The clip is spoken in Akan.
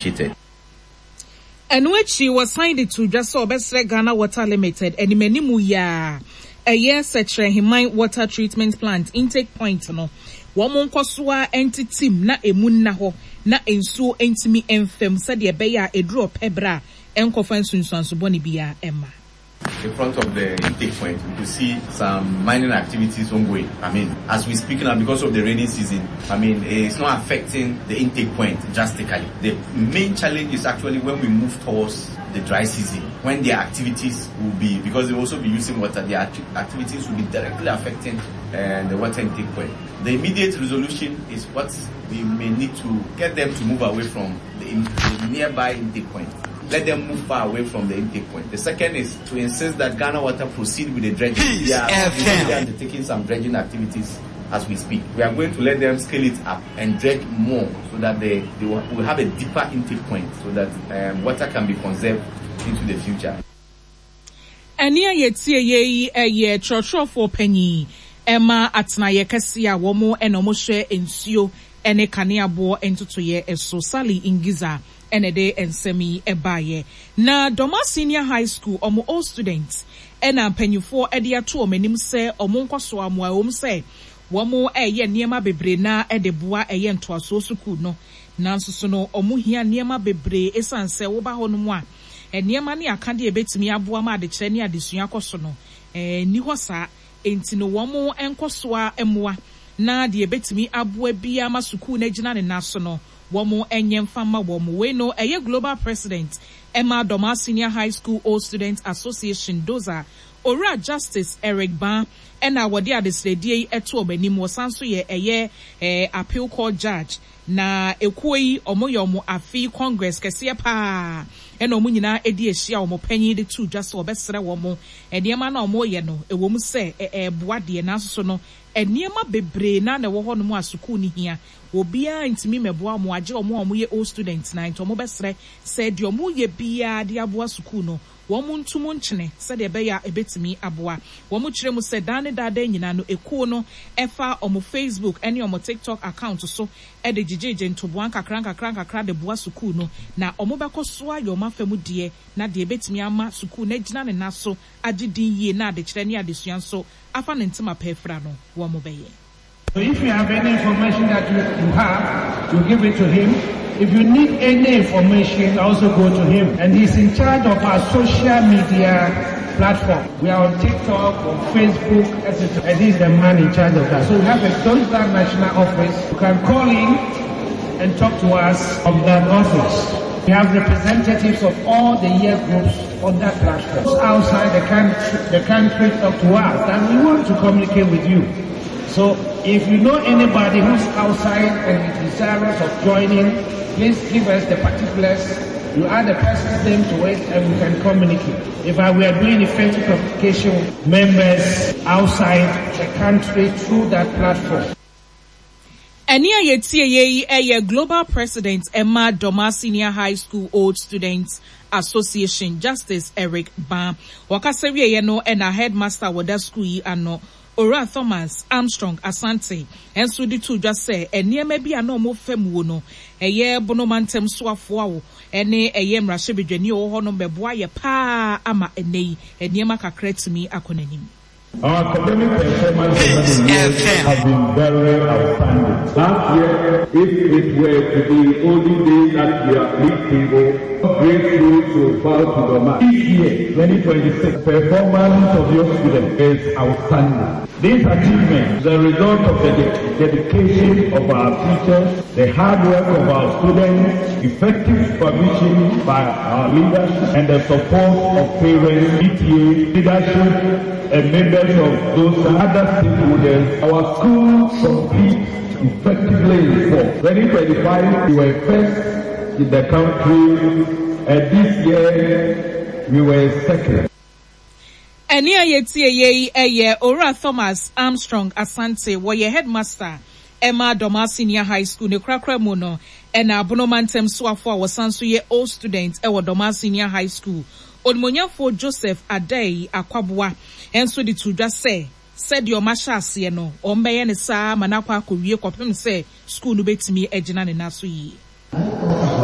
Cheated. Ɛno akyi wɔsan de too dwa sɛ wɔbɛsrɛ Ghana Water Limited animanimu yi ara ɛyɛ Sɛkyerɛheman Water Treatment Plant intake point no wɔn nkɔ so ara ntetem na ɛmu nna hɔ na nsuo ntumi mfa mu sɛdeɛ ɛbɛyɛ a ɛduru ɔpɛ berɛ a ɛnkɔfa nsunsuanso bɔne biara mma. In front of the intake point, we could see some mining activities ongoing. I mean, as we speak now, because of the rainy season, I mean, it's not affecting the intake point drastically. The main challenge is actually when we move towards the dry season, when their activities will be, because they will also be using water, their activities will be directly affecting uh, the water intake point. The immediate resolution is what we may need to get them to move away from the, in, the nearby intake point. Let them move far away from the intake point. The second is to insist that Ghana Water proceed with the dredging. They are undertaking some dredging activities as we speak. We are going to let them scale it up and dredge more so that they, they will, will have a deeper intake point so that um, water can be conserved into the future. Ɛnne a yɛtieeɛ yi yɛ twerɛtwerɛfoɔ panin ma atenaeɛ kɛseɛ a wɔn na wɔhwɛ nsuo ne kanea boɔ ntotoeɛ so, Sally Ngiza na ɛde nsɛm yi baeɛ. Na Dormaa Senior High School wɔn old students na mpanimfoɔ de ato wɔn anim sɛ wɔn nkɔsoa mmoa ɛwom sɛ wɔreyɛ nneɛma bebree na de boa ɛyɛ ntoasoɔ sukuu no nanso so no wɔhia nneɛma bebree ɛsiane sɛ woba hɔnom a Nneɛma ne akadeɛ a ɛbɛtumi aboa ma adekyerɛ ne adesua akɔ so no, nni hɔ saa. Enti no wɔn nkɔ so ara mmoa na deɛ ɛbɛtumi aboa biara ma sukuu no agyina ne nan so no, wɔn nyɛ mfa mma wɔn. Wei no, ɛyɛ Global President ma Dormaa Senior High School Old Students Association, DOSA, Owura Justice Eric Baa na wɔde adesrɛdeɛ yi to wɔn anim. Wɔsan nso yɛ ɛyɛ Appeal Court Judge. Na ekuo yi wɔn yɛ wɔn afe yi congress kɛseɛ paa ɛna wɔn nyinaa ɛdi ahyia wɔn panyin de too dwa sɛ wɔbɛsrɛ wɔn nneɛma no a wɔreyɛ no ɛwɔ mu sɛ ɛɛboa deɛ nanso so no nneɛma bebree naa na ɛwɔ hɔ nom a sukuu no hia obiara ntumi mmɛboa wɔn agye wɔn a wɔyɛ old students na nti wɔbɛsrɛ sɛ deɛ wɔreyɛ biara de aboa sukuu no Wɔnto mu nkyene sɛdeɛ ɛbɛyɛ a ɛbɛtumi aboa. Wɔkyerɛ mu sɛ daa ne daa daa nyinaa no ekuo no fa wɔn Facebook ne wɔn TikTok account so de gyegyeegye ntoboa nkakra nkakra nkakra de boa sukuu no na wɔbɛkɔ so ayɛ wɔn afa mu deɛ na deɛ ɛbɛtumi ama sukuu no agyina ne nan so agye din yie na adekyerɛ ne adesua nso afa ne ntoma pa afira no wɔbɛyɛ. So if you have any information that you, you have, you give it to him. If you need any information, also go to him. And he's in charge of our social media platform. We are on TikTok, on Facebook, etc. And he's the man in charge of that. So we have a Dozda National Office. You can call in and talk to us of that office. We have representatives of all the year groups on that platform. Outside the country, the country talk to us, and we want to communicate with you. So if you know anybody who's outside and is desirous of joining, please give us the particulars. You add the person's name to it and we can communicate. If I were doing effective communication with members outside the country through that platform. Ɛnne a yɛtieeɛ yi yɛ Global President ma Dormaa Senior High School Old Students Association, Justice Eric Baa. Ɔkasa wieeɛ no na Headmaster a wɔda sukuu yi ano, Owura Thomas Armstrong Asante nso de too dwa sɛ nneɛma bi a na wɔfa muo no, ɛyɛ Bono mantam soafoɔ ne ɛyɛ mmarahyɛbadwani a ɔwɔ hɔ nom bɛboa yɛ pa ara ama ɛnnɛ yi nneɛma kakra atumi akɔ n'anim. Our academic performance over the years has been very outstanding. Last year, if it were to be olden days that we are league table, grateful to bow to the mat. This year, 2026, performance of your students is outstanding. This achievement is a result of the dedication of our teachers, the hard work of our students, effective supervision by our leaders, and the support of parents, PTA, leadership, and members of those other stakeholders. Our school competes effectively in sport. 2025, we were first in the country, and this year we were second. Ɛnne a yɛtieeɛ yi yɛ Owura Thomas Armstrong Asante, wɔyɛ Headmaster ma Dormaa Senior High School. Ne korakora mu no na Abono Mantam soafoɔ a wɔsan nso yɛ Old Student wɔ Dormaa Senior High School, Onimuonyamfoɔ Joseph Addae Akwaboah nso de too dwa sɛ, sɛdeɛ wɔahyɛ aseɛ no, wɔbɛyɛ no saa ara ma no akɔ akɔwie kɔpem sɛ sukuu no bɛtumi agyina ne nan so yie.